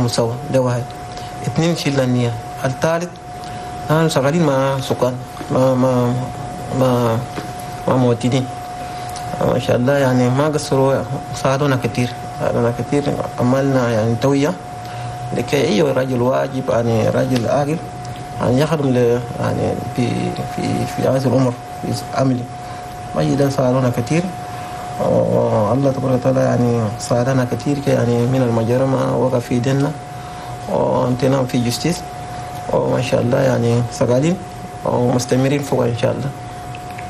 سوا. ده واحد. اثنين، شيل النية. الثالث، نحن شغالين مع سكان، مع مواطنين، ما شاء الله، يعني ما قصروا، ساعدونا كثير، ساعدونا كثير. عملنا يعني توعية لكي أي رجل واجب، يعني راجل عاقل، يعني يخدم يعني في هذا العمر في عملي ما ساعدونا كثير. والله تبارك وتعالى يعني ساعدنا كثير، يعني من المجرمة وقع في يدنا وانتنا في justice، وما شاء الله يعني شغالين ومستمرين فوق ان شاء الله.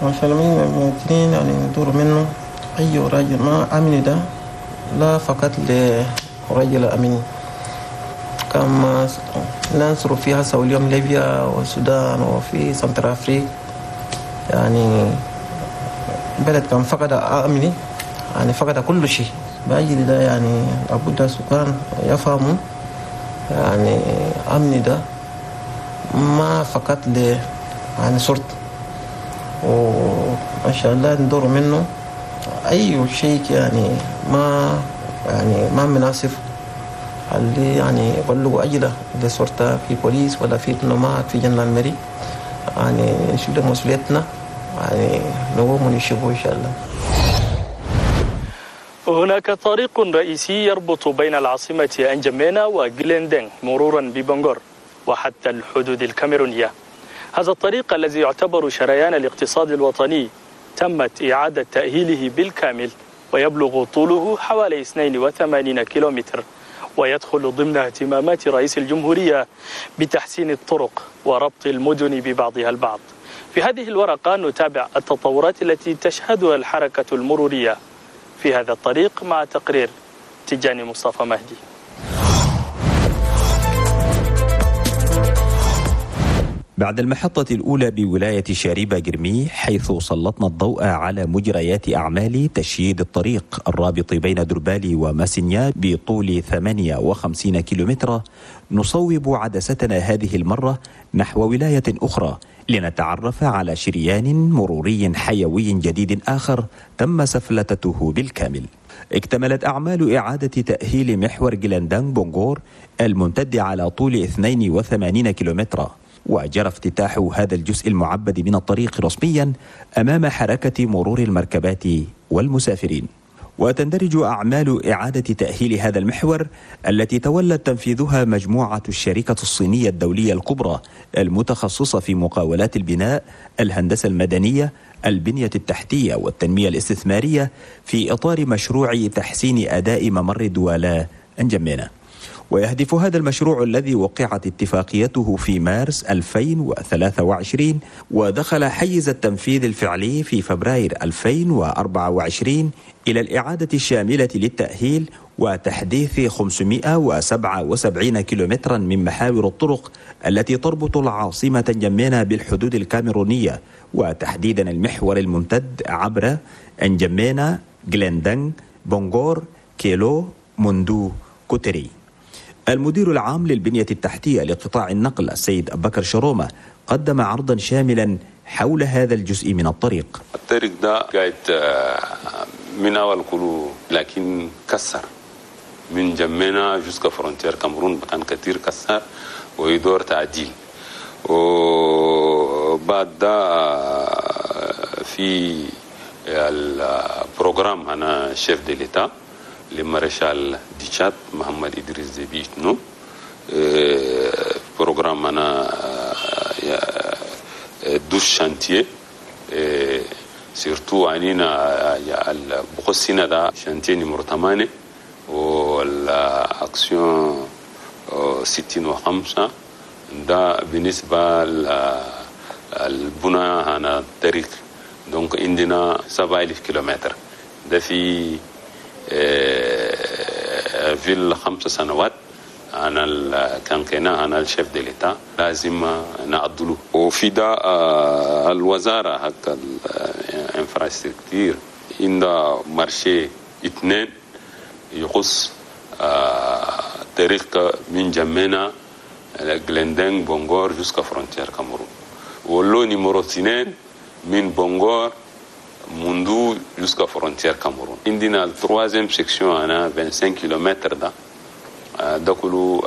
ما شاء الله من المواطنين يعني ندور منه اي راجل ما امن، ده لا فقط لرجل امين، كما ننصر فيها اليوم ليبيا والسودان وفي Centrafrique. يعني بلد كان فقد أمني يعني فقد كل شيء. بأجل ده يعني لابد السكان يفهموا يعني أمني ده ما فقط ل يعني شرطة، وما شاء الله ندور منه أي شيء يعني ما يعني ما مناسب اللي يعني يبلغوا أجله للشرطة في بوليس ولا في نومات في gendarmerie، يعني نشيل مسؤوليتنا، يعني نقوم ونشوفه إن شاء الله. هناك طريق رئيسي يربط بين العاصمة أنجمينا وجلندن مرورا ببنغور وحتى الحدود الكاميرونية. هذا الطريق الذي يعتبر شريان الاقتصاد الوطني تمت إعادة تأهيله بالكامل، ويبلغ طوله حوالي 82 كيلومتر، ويدخل ضمن اهتمامات رئيس الجمهورية بتحسين الطرق وربط المدن ببعضها البعض. في هذه الورقة نتابع التطورات التي تشهدها الحركة المرورية في هذا الطريق مع تقرير تجاني مصطفى مهدي. بعد المحطة الأولى بولاية شاربة جرمي، حيث سلطنا الضوء على مجريات أعمال تشييد الطريق الرابط بين دربالي وماسينيا بطول 58 كيلومتر، نصوب عدستنا هذه المرة نحو ولاية أخرى لنتعرف على شريان مروري حيوي جديد آخر تم سفلتته بالكامل. اكتملت أعمال إعادة تأهيل محور جلاندان بونغور الممتد على طول 82 كيلومترا، وجرى افتتاح هذا الجزء المعبد من الطريق رسميا أمام حركة مرور المركبات والمسافرين. وتندرج أعمال إعادة تأهيل هذا المحور التي تولت تنفيذها مجموعة الشركة الصينية الدولية الكبرى المتخصصة في مقاولات البناء، الهندسة المدنية، البنية التحتية والتنمية الاستثمارية في إطار مشروع تحسين أداء ممر دوالا أنجمينا. ويهدف هذا المشروع الذي وقعت اتفاقيته في مارس 2023 ودخل حيز التنفيذ الفعلي في فبراير 2024 إلى الإعادة الشاملة للتأهيل وتحديث 577 كيلومترا من محاور الطرق التي تربط العاصمة انجمينا بالحدود الكاميرونية، وتحديدا المحور الممتد عبر انجمينا، جلندن، بونغور، كيلو، موندو، كوتري. المدير العام للبنية التحتية لقطاع النقل السيد أبكر شرومة قدم عرضا شاملا حول هذا الجزء من الطريق. الطريق ده قاعد من أول كله، لكن كسر من جمينا jusqu'à frontière كاميرون كان كثير كسر ويدور تعديل. وبعد ده في ال programme هنا chef de l'État le maréchal du Tchad محمد إدريس ديبي إتنو، programme هنا 12 chantiers، surtout عنينا بخصنا ده chantier numéro 8 والاكسيون 65 ده بالنسبة للبنى هنا الطريق. donc عندنا 7000 كيلومتر ده في ال5 سنوات انا كان كنا انا ال chef de l'État لازم نعدلو. وفي ده الوزاره حق ال infrastructure عندها marché اثنين يخص طريق من جمينا جلندن بونغور jusqu'à frontière كاميرون، و lot numéro 2 من بونغور موندو jusqu'à frontière كاميرون. عندنا ال troisième section انا 25 كيلومتر ده ده كله.